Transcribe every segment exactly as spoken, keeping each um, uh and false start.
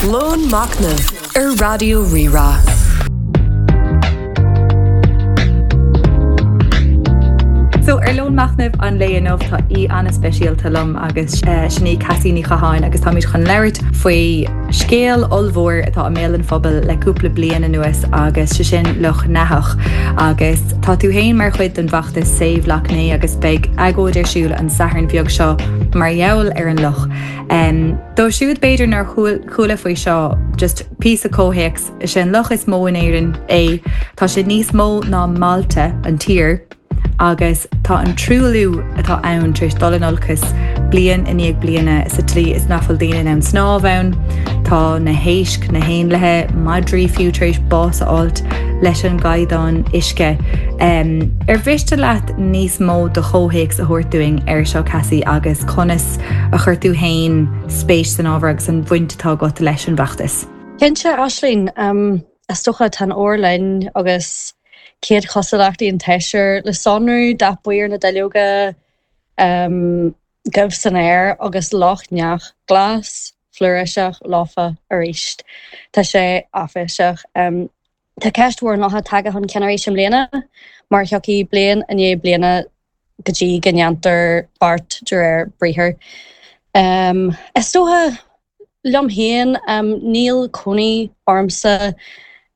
Lón Machnaimh ar Raidió Rí-Rá. So ar Lón Machnaimh an lae inniu tá aoi an-speisialta liom agus sin í Cassie Ní Chatháin agus táimid chun labhairt faoi scéal ollmhór atá i mbéal an phobail le cúpla bliain anuas agus sé sin Loch nEathach. Agus tá tú féin mar chuid den bhfeachtas Save Lough Neagh agus beidh agóid ar siúl an Satharn bheag seo mar gheall ar an loch. Um, Dóibh siúd b'fhéidir nár chuala faoi seo just píosa comhthéacs is é an loch is mó in Éirinn é tá sé níos mó ná Malta an tír agus tá an truailliú atá ann tar éis dul in olcas bliain i ndiaidh bliana sa tslí is nach bhfuil daoine in ann snámh ann, tá na héisc, na héanlaithe, madraí fiú tar éis bás a fháilt leis an gcaighdeán uisce. Um, ar mhiste leat níos mó de chomhthéacs a thabhairt dúinn ar seo Cassie agus conas a chuir tú féin spéis san ábhar agus an bhaint atá agat leis an bhfeachtas. Cinnte Aisling, um, is dócha tá an fhómhar linn agus céad chosúlachtaí an tséasúir le sonrú dath buí ar na duilleoga um, goimh san aer agus Loch Neach glas, flúirseach lofa arís. Tá sé áiféiseach. Um, tá ceist mhór an locha tagtha chun cinn arís i mbliana, mar thiocfaidh bliain i ndiaidh bliana go dtí go ndéantar beart de réir briathair. Um, is dócha liom féin um, níl cónaí ormsa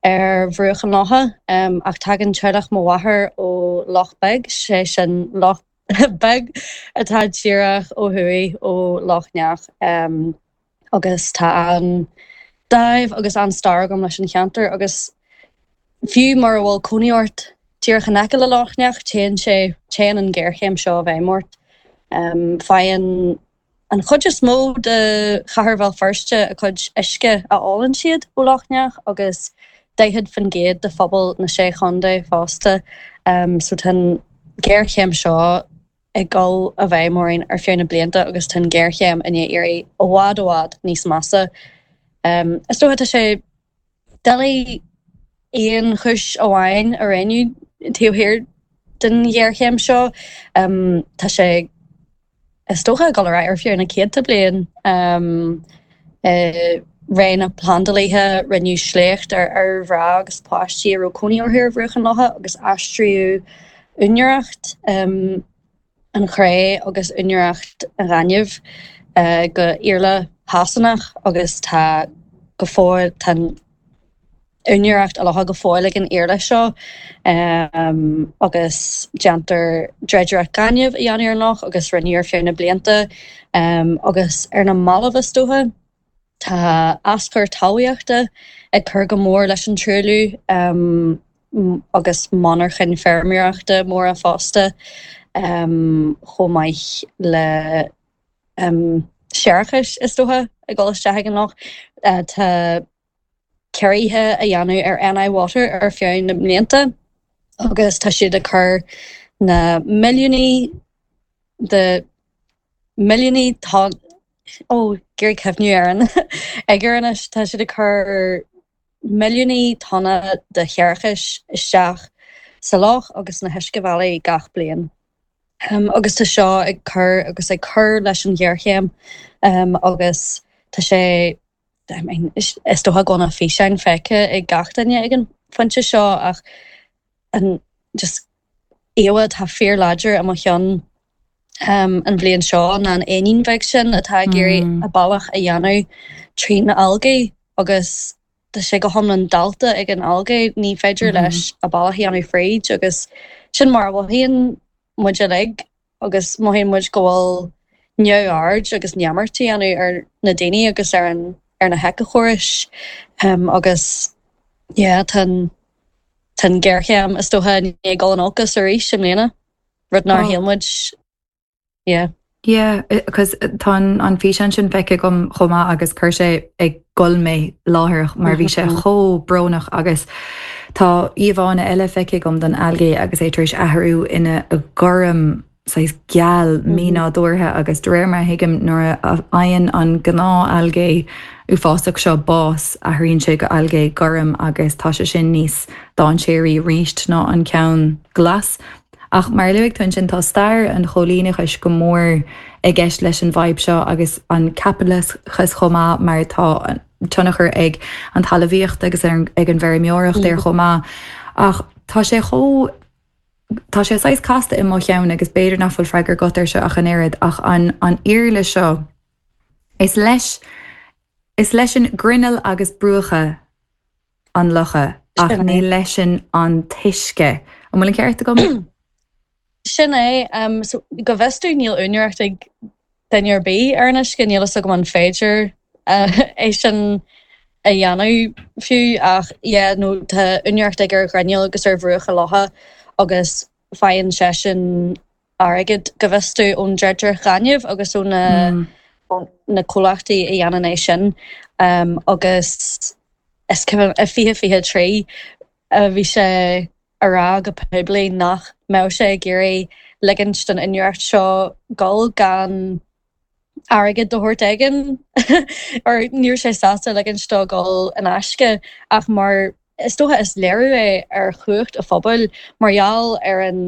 ar bhruach an locha um, ach tagann teaghlach mo mháthar ó Loch Beag, sé sin loch beag atá díreach ó thuaidh ó Loch Neach um, agus tá an dáimh agus an stair agam leis an cheantar agus fiú mura bhfuil cónaí ort díreach in aice le Loch Neach téann sé téann an géarchéim seo i bhfeidhm ort. Um, faigheann an chuid is mó de chathair Bhéal Feirste a cuid uisce a ólann siad ó Loch Neach agus daichead faoin gcéad de phobal na sé chontae fosta. Um, so tá an géarchéim seo ag dul i bhfeidhm orainn ar feadh na blianta agus tá an géarchéim i ndiaidh éirí i bhfad i bhfad níos measa. Um, is dócha tá sé doiligh aon chúis amháin a roghnú taobh thiar den ghéarchéim seo. Um, tá sé is dócha ag dul ar aghaidh ar feadh na céadta bliain. Um, uh, ré na bplandálaithe rinneadh sléacht ar ar mhná agus páistí a raibh cónaí orthu ar bhruach an locha agus aistríodh úinéireacht um, an chré agus úinéireacht an ghainimh uh, go Iarla Shasanach agus tá go fóill tá úinéireacht an locha go fóill ag an Iarla seo um, agus déantar dreidireacht gainimh a dhéanamh ar an loch agus rinneadh ar feadh na blianta um, agus ar na mallaibh is dócha tá aschur talmhaíochta ag cur go mór leis an truailliú um, agus monarchain feirmeoireachta móra fosta um, chomh maith le um, séarachas is dócha ag dul isteach ag an loch. Uh, tá ciorruithe á dhéanamh ar NI Water ar feadh na mblianta agus tá siad ag cur na milliúnaí de milliúnaí tá ó ag cuimhneamh ar an uimhir anois tá siad ag cur milliúnaí tonna de shéarachas isteach sa loch agus na huiscebhealaí gach bliain. Um, agus tá seo ag cur agus ag cur leis an ghéarchéim um, agus tá sé I mean, is is dócha go bhfuil na físeáin feicthe ag gach duine ag an phointe seo ach an just íomhá atá fíorláidir i mo cheann um, an bhliain seo ná an éinín bheag sin atá ag iarraidh Mm. a bealach a dhéanamh trí na algae agus tá sé go hiomlán dallta ag an algae ní féidir Mhm. leis a bealach a dhéanamh fríd agus sin mar a mhothaíonn muid uilig agus mothaíonn muid go bhfuil neamhaird agus neamart á dhéanamh ar na daoine agus ar an ar na héiceachórais um, agus yeah, tá an tá an géarchéim is dócha i ndiaidh dul in olcas arís i mbliana rud nár Oh. shíl muid yeah. Yeah, cos tá an an físeán sin feicthe agam chomh maith agus chuir sé ag gol mé láithreach mar bhí sé Mhm. chomh brónach agus tá íomhánna eile feicthe agam den algae agus é tar éis athrú ina gorm saghas geal mínádúrtha agus de réir mar thuigim nuair a fhaigheann an gnáth algae uafásach seo bás athraíonn sé go algae gorm agus tá sé sin níos dainséaraí arís ná an ceann glas. Ach mar a luaigh tú ansin tá stair an choilíneachais go mór i gceist leis an bhfadhb seo agus an caipitleachas chomh maith mar tá tionchar ag an talmhaíocht agus ar, ag an bhfeirmeoireacht ar chomh maith. Ach tá sé chomh Tá sé saghas casta i mo cheann agus b'fhéidir nach bhfuil freagra agat air seo ach an oiread ach an an iarla seo. Is leis is leis an grinneall agus bruacha an locha ach Sin ní é. leis an t-uisce. An bhfuil an ceart agam? Sin é um, so, go bhfios dom níl úinéireacht ag duine ar bith ar an uisce níl a fhios agam an féidir uh, é sin a dhéanamh fiú ach yeah, nó tá úinéireacht ag ar ghrinneall agus ar bhruacha locha agus faigheann seisean airgead go bhfios dom ón dreidireacht ghainimh agus ó na Mm. ó na comhlachtaí a dhéanann é sin um, agus is cuimhin i fiche fiche trí a bhí sé a rá go poiblí nach mbeadh sé ag iarraidh ligint don úinéireacht seo dul gan airgead de shórt éigin or ní raibh sé sásta ligint dó dul in aisce ach mar is dócha is léiriú é ar chumhacht an phobail mar gheall ar an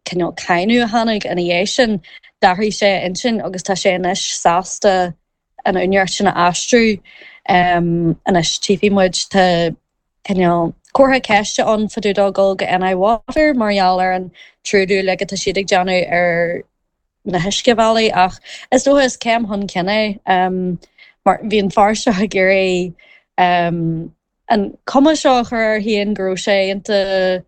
cineál cáineadh a tháinig ina dhiaidh sin d'athraigh sé a intinn agus tá sé anois sásta an úinéireacht sin a aistriú um, anois tífidh muid tá cineál comhartha ceiste ann fá dtaobh dó dul go NI Water mar gheall ar an truailliú le tá siad ag déanamh ar na huiscebhealaí ach is dócha is céim chun cinn é um, mar bhí an fear seo ag iarraidh um, an cuma seo a chur air féin go raibh sé iontach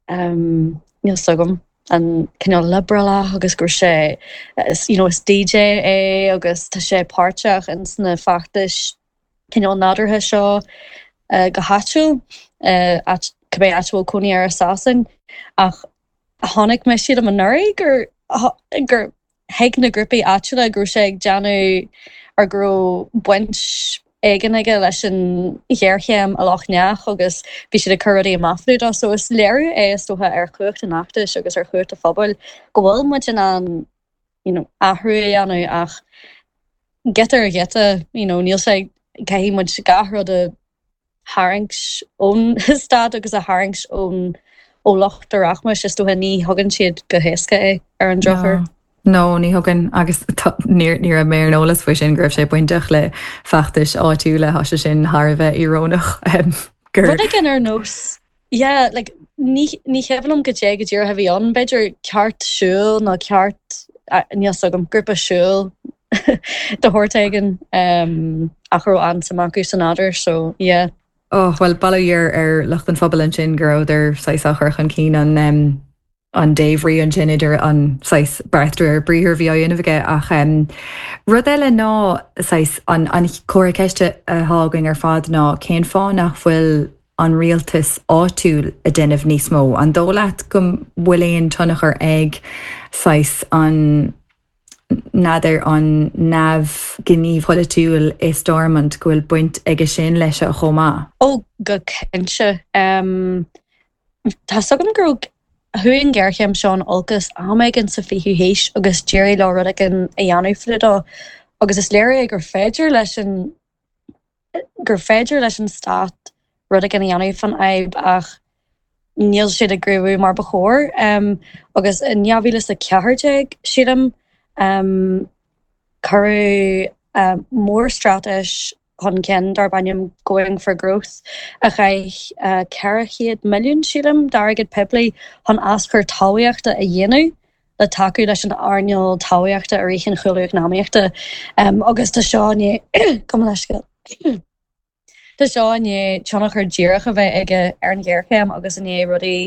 um, níl a fhios agam an cineál liobrálach agus go raibh sé is, you know, is DJ é agus tá sé páirteach ins na feachtais cineál nádúrtha seo uh, go háitiúil uh, áit- cibé áit a bhfuil cónaí air i Sasain ach tháinig mé siad am anuraidh gur gur thuig na grúpaí áitiúla go raibh sé ag déanamh ar go raibh baint éigin aige leis an ghéarchéim i Loch Neach agus bhí siad ag cur rudaí amach dó so is léiriú é is dócha ar chumhacht an fheachtais agus ar chumhacht an phobail go bhfuil muid in ann you know, athrú a dhéanamh ach giota ar ghiota you know, níl sé caithfidh muid gach rud a tharraingt ón stát agus a tharraingt ón ó lucht a rachmais is dócha ní thugann siad go héasca é ar an drochuair. No, ní thugann agus ní ní raibh mé ar an eolas faoi sin go raibh sé bainteach le feachtais áitiúla tá sé sin thar a bheith íorónach um, gur Rud éigin ar nós yeah, like, ní ní cuimhin liom go dé go díreach a bhí ann b'fhéidir ceart siúil nó ceart níl a fhios agam grúpa siúil de shórt éigin um, ach raibh an-suim acu san nádúr so yeah. Oh, well bail ó Dhia ar lucht an phobail ansin go rabhadar saghas á chur chun cinn an um, an débhrí ansin idir an saghas beart ar briathar bhí á dhéanamh aige ach um, rud eile ná saghas an, an comhartha ceiste atá againn ar fad ná cén fáth nach bhfuil an rialtas áitiúil ag déanamh níos mó. An dóigh leat go bhfuil aon tionchar ag saghas an n'fheadar an neamhghníomh polaitiúil i Stormont go bhfuil baint aige sin leis a chomh maith. Ó go cinnte um, Tá a fhios agam go chuaigh an ghéarchéim seo in olcas am éigin sa fichiú haois agus d'éirigh leo rud éigin a dhéanamh faoi dó agus is léir é gur féidir leis an gur féidir leis an stát rud éigin a dhéanamh faoin fhadhb ach níl siad ag gníomhú mar ba chóir um, agus in dhá mhíle a ceathair déag sílim um, cuireadh um, mórstraitéis chun cinn darb ainm Going for Growth a chaith uh, ceithre chéad milliún sílim d'airgead poiblí chun aschur talmhaíochta a dhéanamh le tacú leis an earnáil talmhaíochta i rith an chúlú eacnamaíochta um, agus tá seo go leisce. Tá seo i ndiaidh tionchar díreach a bheith aige ar an ghéarchéim agus i ndiaidh rudaí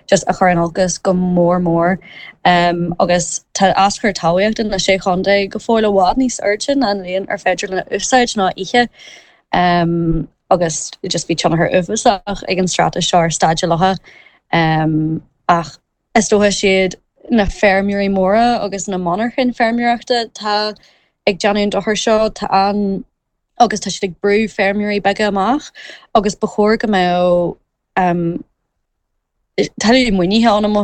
just a chur in olcas go mór mór um, agus tá aschur talmhaíochta na sé chontae go fóill i bhfad níos airde ná an líon ar féidir lena úsáid ná ithe um, agus just bhí tionchar uafásach ag an straitéis seo ar staid an locha um, ach is dócha siad na feirmeoirí móra agus na monarchain feirmeoireachta tá ag déanamh an dochar seo tá an agus tá siad ag brú feirmeoirí beaga amach agus ba chóir go mbeadh um, tuilleadh maoinithe ann i mo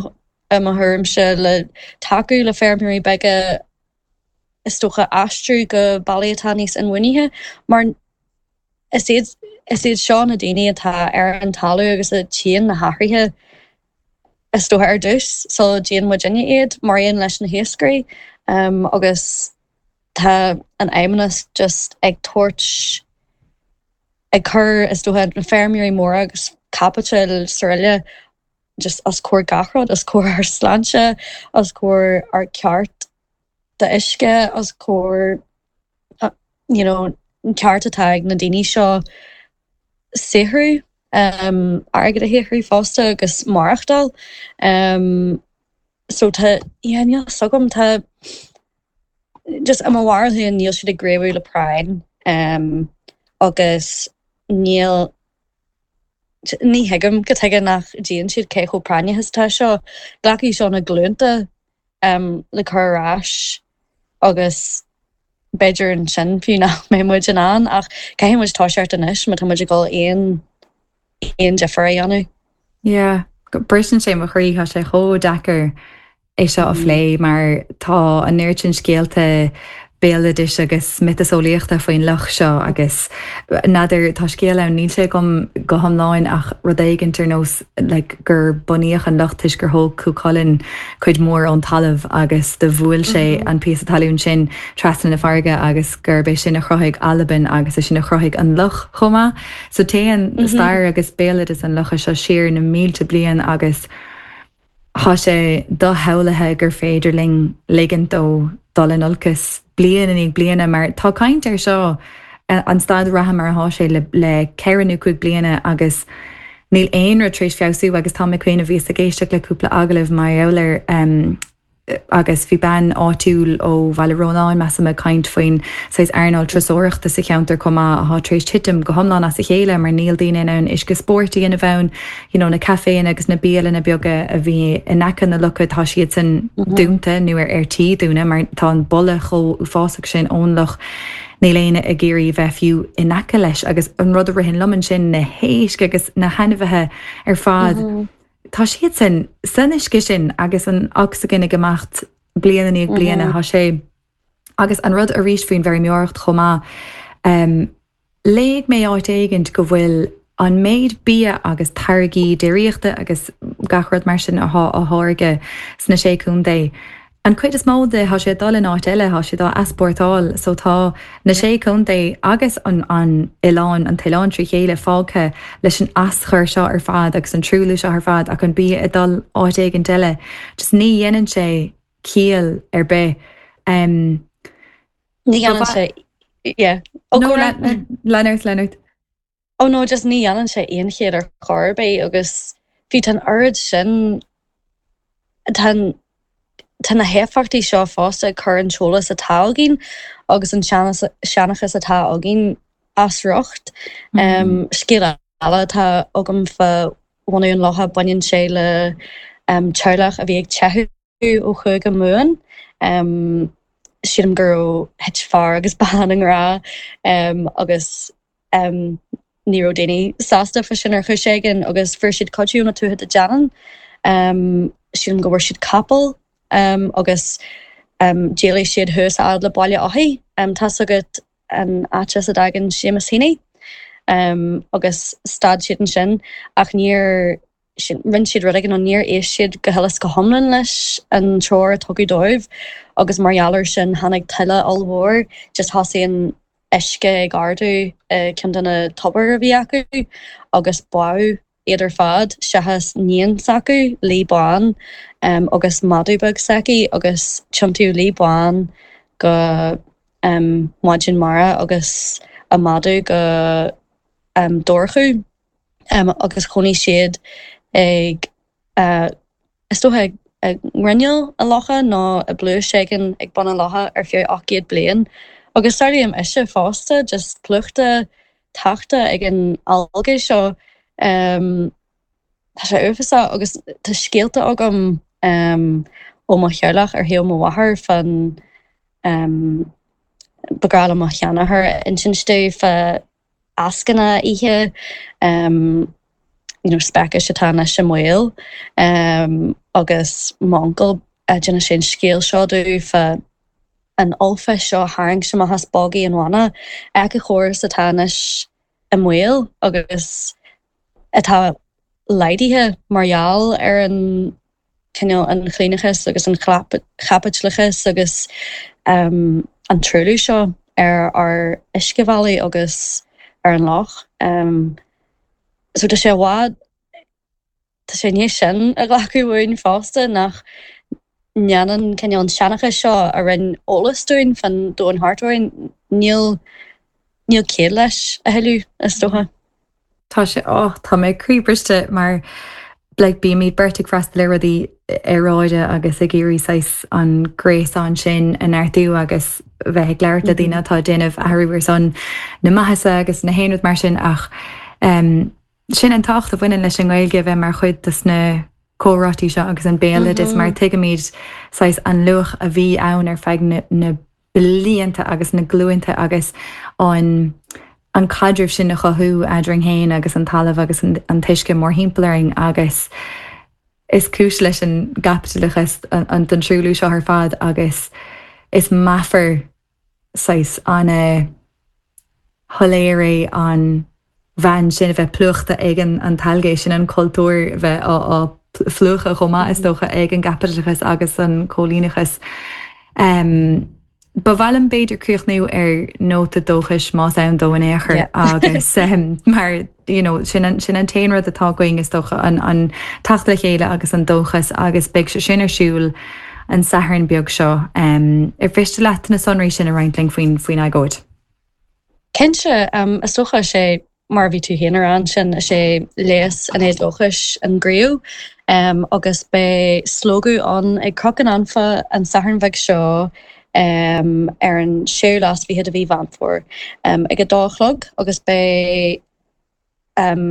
thuairimse le tacú le feirmeoirí beaga is dócha aistriú go bealaí atá níos inbhuanaithe mar is iad is iad seo na daoine atá ar an talamh agus a tchíonn na hathruithe is dócha ar dtús so déan muidinne iad mar aon leis na hiascairí um, agus tá an fheidhmeannas just ag tabhairt ag cur is dócha na feirmeoirí móra agus caipiteal is araile just os comhair gach rud, os comhair ár sláinte, os comhair ár ceart d'uisce, os comhair you know an ceart atá ag na daoine seo saothrú, um, airgead a shaothrú fosta agus maireachtáil. Um, so tá yeah, níl fhios agam tá just i mo bharúil féin níl siad ag gníomhú le práinn um, agus níl ní thuigim cad chuige nach dtuigeann siad cé chomh práinneach is atá seo. Glacfaidh seo na glúnta um, le cur ar ais agus b'fhéidir ansin fiú nach mbeidh muid in ann ach caithfidh muid toiseacht anois má tá muid ag dul aon aon difear a dhéanamh. Yeah, briseann sé mo chroí tá sé chomh deacair é seo a phlé mar tá an oiread sin scéalta béaloidis agus miotaseolaíochta faoin loch seo agus n'fheadar tá scéal ann níl sé agam go hiomlán ach rud éigin ar nós like, gur bunaíodh an loch toisc gur thóg Cú Chulainn cuid mhór ón talamh agus do bhuail sé mm -hmm. an píosa talún sin trasna na farraige agus gurb é sin a chruthaigh Albain agus é sin a chruthaigh an loch chomh maith. So téann mm -hmm. stair agus béaloideas an locha seo siar na mílte bliain agus Tá sé doshamhlaithe gur féidir linn ligint dó dul in olcas bliain i ndiaidh bliana mar tá caint ar seo an staid reatha mar atá sé le, le ceithre nó cúig bliana agus níl aon rud tar éis feabhsú agus tá mé cuimhne bhíos ag éisteacht le cúpla agallamh mar gheall air um, agus bhí bean áitiúil ó Bhaile Rónáin measaim ag caint faoin saghas earnáil turasóireachta sa cheantar chomh maith atá tar éis titim go hiomlán as a chéile mar níl daoine in ann uisce spóirt a dhéanamh ann you know, na caiféanna agus na bialanna beaga a bhí in aice na locha tá siad san dúnta nó ar ar tí dúnadh mar tá an boladh chomh uafásach sin ón loch. Níl éinne ag iarraidh bheith fiú in aice leis agus an rud a ritheann liom ansin na héisc agus na hainmhithe ar fad. Mm -hmm. Tá siad sin san uisce sin agus an ocsaigin ag imeacht bliain i ndiaidh bliana tá sé agus an rud arís faoin bhfeirmeoireacht chomh maith. Um, léigh mé áit éigin go bhfuil an méid bia agus táirgí déiríochta agus gach rud mar sin atá á tháirgeadh sna sé chontae. An chuid is mó de tá sé dul in áit eile tá sé á easpórtáil, so tá na sé chontae agus an an oileán an t-oileán trí chéile fágtha leis an aschur seo ar fad agus an truailliú seo ar fad ach an bia ag dul áit éigin eile. Just ní dhéanann sé ciall ar bith. Um, Ní dhéanann sé yeah. Oh, no, Leonard Leonard. Oh no, just ní dhéanann sé aon chiall ar chor ar bith agus bhí an oiread sin tá Tá na héifeachtaí seo fosta ag cur an t-eolas atá againn agus an seanchas atá againn as riocht. Mm. Scéal eile atá agam fá bhunú an locha baineann sé le um, teaghlach a bhí ag teitheadh ó Chúige Mumhan. Um, sílim go raibh thit fear agus bean i ngrá um, agus um, ní raibh daoine sásta fá sin ar chúis éigin agus fuair siad cuidiú ó na Tuatha Dé Danann. Um, sílim go bhfuair siad capall um, agus um, d'éalaigh siad thuas a fhad le Baile Othaigh. Um, Tá agat an áit as a dtagann Seamus Heaney um, agus stad siad ansin ach níor rinne siad rud éigin nó níor éist siad go huile is go hiomlán leis an treoir a tugadh dóibh agus mar gheall air sin tháinig tuile ollmhór just thosaigh an uisce ag ardú i ceann de na tobair a bhí acu agus bádh iad ar fad seachas níon s'acu, Laoi Bán, um, agus madadh beag s'aici agus tiontaíodh Laoi Bán go um, maighdean mara agus a madadh go um, dobharchú um, agus chónaigh siad ag uh, is dócha ag ag grinneall an locha nó i bpluais éigin ag bun an locha ar feadh ocht gcéad bliain. Agus samhlaím uisce fosta just plúchta tachta ag an algae seo. Um, tá sé uafásach agus tá scéalta agam um, ó mo theaghlach ar thaobh mo mháthar fan um, ba ghnách le mo sheanathair insint domh fá eascanna oíche um, you know, speicis atá anois i mbaol um, agus m'uncail a d'inis sé an scéal seo domh fá an ollpheist seo a tharraing amach as bogaigh an bhanna éiceachóras atá anois i mbaol agus atá laghdaithe mar gheall ar an cineál an chlaonachas agus an chaipitleachas agus um, an truailliú seo ar ár uiscebhealaí agus ar an loch. So tá sé i bhfad, tá sé i ndiaidh sin a ghlacadh uainn fosta nach ndéanann cineál an seanchas seo a roinn eolas dúinn fán domhan thart orainn, níl níl ciall leis a thuilleadh, is dócha. Tá sé oh, tá mé croíbhriste mar like, bímid beirt ag freastal ar rudaí aeráide agus ag iarraidh saghas an gréasán sin a neartú agus bheith ag labhairt le daoine atá ag déanamh athrú ar son na maitheasa agus na haon rud mar sin ach um, sin an tábhacht a bhaineann leis an nGaeilge bheith mar chuid de na comhráití seo agus an béaloideas mar tuigimid saghas an luach a bhí ann ar feadh na, na blianta agus na glúinte agus an an caidreamh sin a chothú eadrainn féin agus an talamh agus an, an t-uisce mórthimpeall orainn agus is cúis leis an gcaipitleachas an, an den truailliú seo ar fad agus is meafar saghas an shoiléir é an bhean sin a bheith plúchta ag an an t-ailgé sin an cultúr bheith á, á phlúchadh chomh maith is dócha ag an gcaipitleachas agus an cóilíneachas. Um, Ba mhaith liom b'fhéidir críochnú ar nóta dóchais más ann dó in aon chor agus um, mar you know, sin an, sin an t-aon rud atá againn is dócha an, an teacht le chéile agus an dóchas agus beidh sé sin ar siúl an Satharn beag seo. Um, ar mhiste leat na sonraí sin a roinnt linn faoin faoin agóid. Cinnte um, is dócha sé mar bhí tú féin an sin is é léas an éadóchais an gríú um, agus beidh slógadh ann ag Cnoc an Anfa an Satharn bheag seo um, ar an séú lá is fiche de mhí Mheán Fómhair um, ag a dó a chlog agus beidh um,